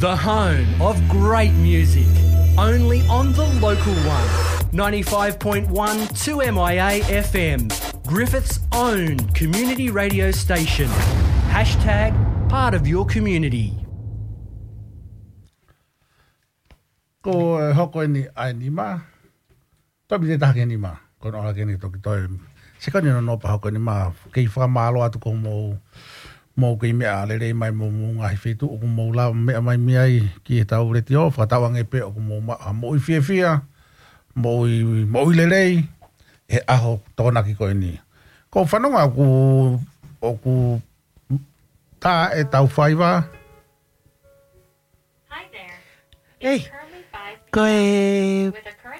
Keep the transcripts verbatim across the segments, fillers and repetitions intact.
The home of great music, only on the local one. Ninety-five point one two M I A F M, Griffith's own community radio station. Hashtag part of your community. Ko e hoko eni ʻa e nima. Tomi te taha ke nima. Ko hono ʻalu ke ne toki toe. Sekoni nono pea hoko eni ma kei fakamālō atu ko mou. Mou kei meʻa lelei mai mo mou ngaahi feituʻu ʻoku mou lava meʻa mai mei ai ki he tau letiō. Fakatauange pē ʻoku mou maʻu ha moʻui fiefia. Moʻui, moʻui lelei. He ʻaho Tokonaki ko eni. Ko e fanongo ʻoku, ʻoku tā e tau faiva. Ei, ko e,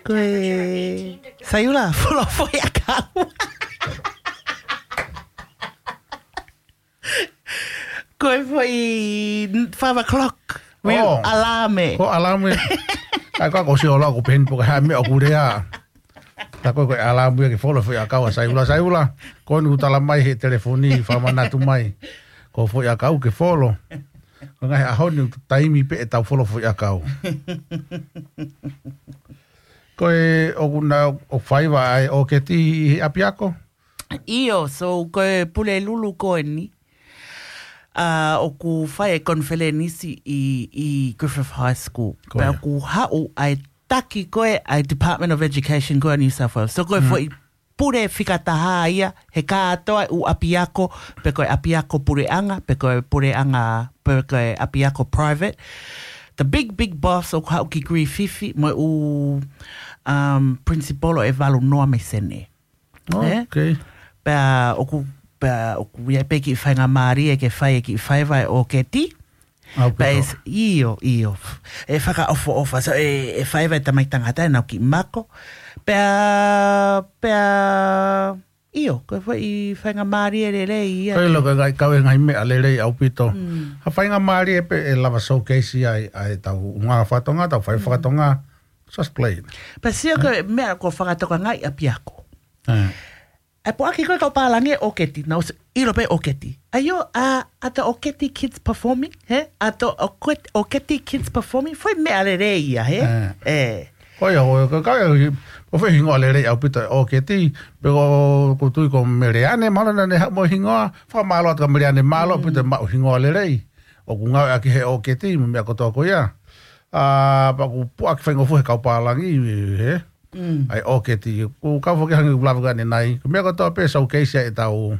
ko e, Saiula, folo foʻi ʻakau. Ko e foʻi five o'clock. Real Oh. Alame. Ko alame. Ai, ko, ko si ola, ko peheni poka ha meʻa ʻoku lea. Tā ko e, ko e alame ke folo foʻi ʻakau ʻa Saiula, Saiula. Ko eni ʻoku tala mai he telefoni, fakamanatu mai. Ko foʻi ʻakau ke folo. Ko e ngaahi ʻaho ni ʻoku taimi pē e tau folo foʻi ʻakau. Ko e ʻoku na ʻo faiva ʻa e ʻoketi ʻi he ʻapiako? ʻIo, so ko e Pulelulu ko eni. ʻA, ʻoku fai e konifelenisi ʻi, ʻi Griffith High School. Ko Pea ia. ʻoku haʻu ʻa e taki ko ē ʻa e Department of Education ko ē ʻa New South Wales. So ko e Mm. foʻi pule fika taha ia, he kātoa ʻū ʻapiako, pe ko e ʻapiako puleʻanga, pe ko e puleʻanga, pe ko e ʻapiako private. The big, big boss ʻoku haʻu ki Griffith, mo e ʻū, um, principal ʻe valu noa mei Senē. Oh, Eh? okay. Pea ʻoku, pea ʻoku ia pē kiʻi faingamālie ke fai e kiʻi faiva e ʻoketi. Au Pea pito. e s-, ʻio, ʻio. E fakaʻofoʻofa, so e, e faiva e tamai tangata ʻenau kiʻi mako. Pea, pea, ʻio, ko e foʻi faingamālie lelei ia. Ko e loko e ngai, kau e ngai meʻa lelei au pito. Mm. Ha faingamālie pē e lava showcase ai, ʻa e tau ngā fakatonga, tau fai Mm. fakatonga. Just play. Pea sio ko e meʻa ko fakatokangaʻi ʻapiako. Eh. ʻE puʻaki ko e kau pālangi e ʻoketi, na ʻosi ʻilo pē ʻoketi. ʻAi ʻo, ʻa, ʻa e ʻoketi kids performing, he? ʻA e ʻoketi, ʻoketi kids performing, foʻi meʻa lelei ia, he? Eh. Eh. Ko ia, ko, ko, ko, ko foʻi hingoa lelei au pito ʻoketi, pe ko, ko tui ko Meleane, mahalo naʻa ne haʻu mo e hingoa, fakamālō atu ka Meleane mālō Mm. pito maʻu hingoa lelei. ʻOku ngāueʻaki he ʻoketi, mo e meʻa kotoa ko ia. ʻA, pea ʻoku puʻaki faingofua he kau pālangi, he? Mm. ʻAi ʻoketi, ʻoku kau foki hangē ʻoku lava ka ne nai. Ko e meʻa kotoa pē showcase ai e tau,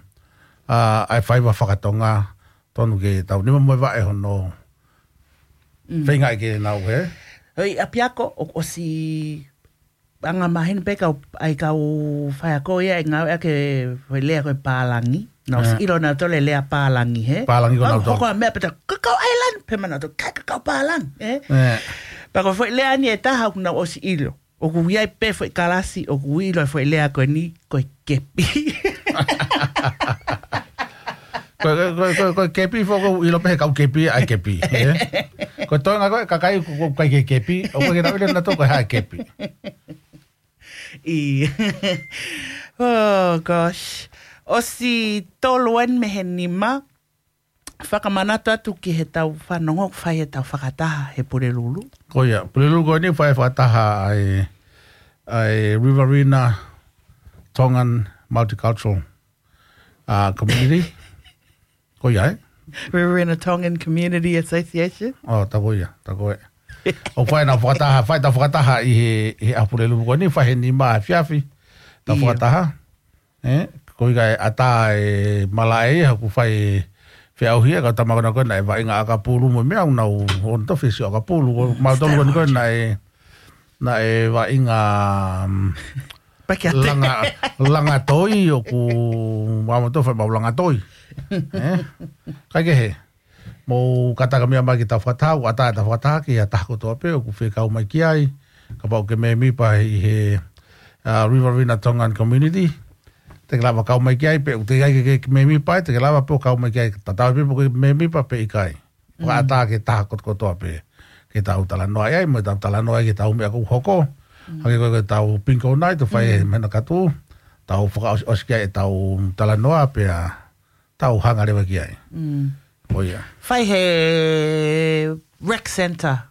ʻa, ʻa e faiva fakatonga, tonu ke tau nima mo e vaʻe hono. Mm. Feinga ai ke nau, he? ʻOi, ʻapiako, ʻo, ʻosi anga maheni pē kau, ʻai kau faiako ia, ʻe ngāueʻaki e foʻi lea ko e pālangi. Na ʻosi Eh. ʻilo nautolu e lea pālangi, he? Pālangi ko Kau nautolu. hoko a meʻa pē ta, ka kau island, pē ma nautolu, ka, ka kau pālangi, eh? Eh. Pea ko e foʻi lea ni e taha ʻoku nau ʻosi ʻilo. ʻOku ʻi ai pē foʻi kalasi, ʻoku ʻilo e foʻi lea ko eni, ko e kepi. Ko, ko, ko, ko, ko e kepi foki ʻoku ʻilo pē he kau kepi, ʻai kepi, eh? Ko e toenga ko e kakai ʻoku, ʻoku ʻikai ke kepi, ʻoku ʻikai ke tau ʻilo nautolu ko e hā e kepi. ʻI. Oh, gosh. ʻOsi tolu eni mei he nima, fakamanatu atu ki he tau fanongo, fai he tau fakataha he Pulelulu. Ko ia, Pulelulu ko eni fai fakataha ʻa e, ʻa e Riverina Tongan Multicultural, uh, Community. Ko ia, eh? Riverina Tongan Community Association. Oh, tā ko ia, tā ko e. ʻO fai nau fakataha, fai tau fakataha ʻi he, ʻi he ʻaho Pulelulu ko eni, fai he nima efiafi. Tau ʻIo. fakataha. Eh, ko ia e ʻatā e malaʻe ia, ʻoku fai feʻauhi e kau tama ko ena ko ena e vaʻinga ʻakapulu mo e meʻa ʻoku nau ō ʻo tofi e sio ʻakapulu, ko mautolu ko ena ko ena e, naʻe vaʻinga, um, Pakiate. langa, langa toi, ʻoku mau tofi mau langa toi. Eh? Kaikehe. Mou kātaki meʻa mai ki he tau fakataha, ʻoku ʻatā e tau fakataha ki he taha kotoa pē ʻoku fie kau mai ki ai, kapau ʻoku ke mēmipa ʻi he, uh, Riverina Tongan Community. Te ke lava kau mai ki ai, pe ʻoku teʻeki ai ke, ke mēmipa ai, te ke lava pē ʻo kau mai ki ai, tatau ai pē pe ʻoku ke mēmipa pe ʻikai. ʻOku Mm. ʻatā ki he taha kotokotoa pē, ke tau talanoa ai, mo tau talanoa ai ki he tau meʻa ʻoku hoko. Mm. Hangē ko e tau bingo night, ʻo fai Mm. he mena katu, tau fakaʻosiʻosi ki ai e tau talanoa, pea tau hanga leva ki ai. Mm. Ko ia. Fai he Rec Center.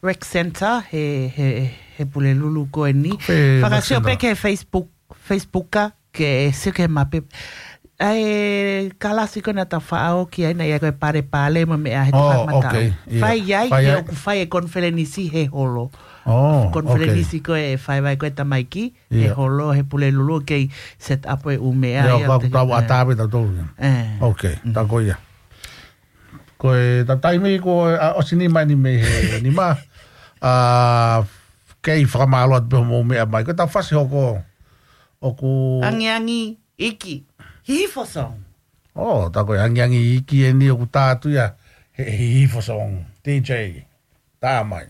Rec Center, he, he, he Pulelulu ko eni. Fakasio pē ki he Facebook, Facebook ke sio ki he mape. ʻA e kalasi ko ena ta faʻao ki ai na ia ko e pale pale mo meʻa he Oh, fakamatau. Okay, ia. Fai ai Fai ke ai. ʻoku fai e konifelenisi he holo. Oh, Konifelenisi okay. ko e fai vai ko e tamaiki, he Ia. holo, he Pulelulu kei set up e ʻū meʻa Ia, ia ka te- tau eh. ʻatā pē tau tau ia. Eh. Okay, Mm. tā ko ia. Ko e ta taimi ko e, ʻa, ʻosi nima eni mei he nima. ʻA, kei fakamālō atu pē hoʻomou meʻa mai. Ko e ta fasi hoko. ʻOku Angiangi iki. Hihifo song. Oh, tā ko e angiangi iki eni ʻoku tā atu ia. He, he hihifo song. D J. Tā mai.